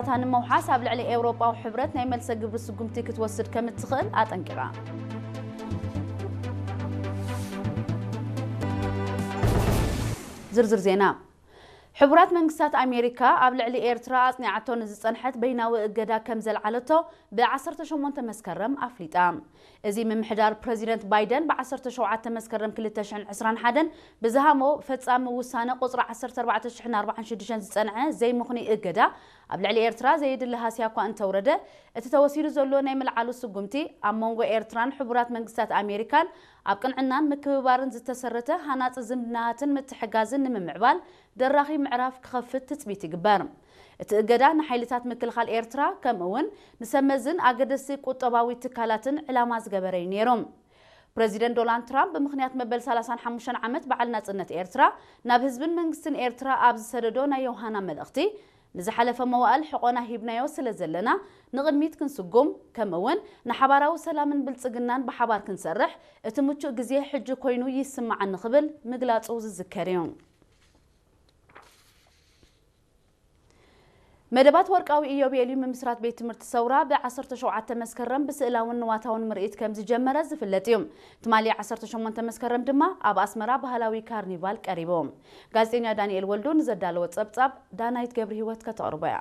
እታ ንምውሓስ ኣብ ልዕሊ ኤውሮጳዊ ሕብረት ናይ መልሰ ግብሪ ስጉምቲ ክትወስድ ከም እትኽእል ኣጠንቂቓ። ዝርዝር ዜና። ሕቡራት መንግስታት ኣሜሪካ ኣብ ልዕሊ ኤርትራ ኣጽኒዓቶ ንዝጸንሐት በይናዊ እገዳ ከም ዘልዓለቶ ብ ዓሰርተ ሸሞንተ መስከረም ኣፍሊጣ። እዚ ምምሕዳር ፕረዚደንት ባይደን ብ ዓሰርተ ሸውዓተ መስከረም ክልተ ሽሕን ዕስራን ሓደን ብዝሃሞ ፈጻሚ ውሳነ ቁጽሪ ዓሰርተ ኣርባዕተ ሽሕን ኣርባዓን ሽዱሽተን ዝጸንዐ ዘይምኽኑይ እገዳ ኣብ ልዕሊ ኤርትራ ዘየድሊ ሃስያ እኳ እንተውረደ፣ እቲ ተወሲዱ ዘሎ ናይ ምልዓሉ ስጉምቲ ኣብ መንጎ ኤርትራን ሕቡራት መንግስታት ኣሜሪካን ኣብ ቅንዕናን ምክብባርን ዝተሰረተ ሃናጺ ዝምድናታትን ምትሕጋዝን ንምምዕባል ደራኺ ምዕራፍ ክኸፍት ትጽቢት ይግበር። እቲ እገዳ ንሓይልታት ምክልኻል ኤርትራ ከምኡ እውን ንሰብ መዝን ኣገደስቲ ቁጠባዊ ትካላትን ዕላማ ዝገበረ እዩ ነይሩ። ፕረዚደንት ዶናልድ ትራምፕ ብምኽንያት መበል ሰላሳን ሓሙሽተን ዓመት በዓል ናጽነት ኤርትራ ናብ ህዝብን መንግስትን ኤርትራ ኣብ ዝሰደዶ ናይ ዮሃና መልእኽቲ፣ ንዝሓለፈ መዋእል ሕቖና ሂብናዮ ስለ ዘለና ንቕድሚት ክንስጉም፣ ከምኡ እውን ንሓባራዊ ሰላምን ብልጽግናን ብሓባር ክንሰርሕ እቲ ምቹእ ግዜ ሕጂ ኮይኑ ይስምዓኒ ክብል ምግላጹ ዝዝከር እዩ። መደባት ወርቃዊ ኢዮቤልዩ ምምስራት ቤት ትምህርቲ ሰውራ ብ ዓሰርተ ሸውዓተ መስከረም ብስእላውን ንዋታውን ምርኢት ከም ዝጀመረ ዝፍለጥ እዩ። ትማሊ ዓሰርተ ሸሞንተ መስከረም ድማ ኣብ ኣስመራ ባህላዊ ካርኒቫል ቀሪቡ። ጋዜጠኛ ዳንኤል ወልዱ ንዘዳለወ ጸብጻብ ዳናይት ገብረ ህይወት ከተቕርቦ እያ።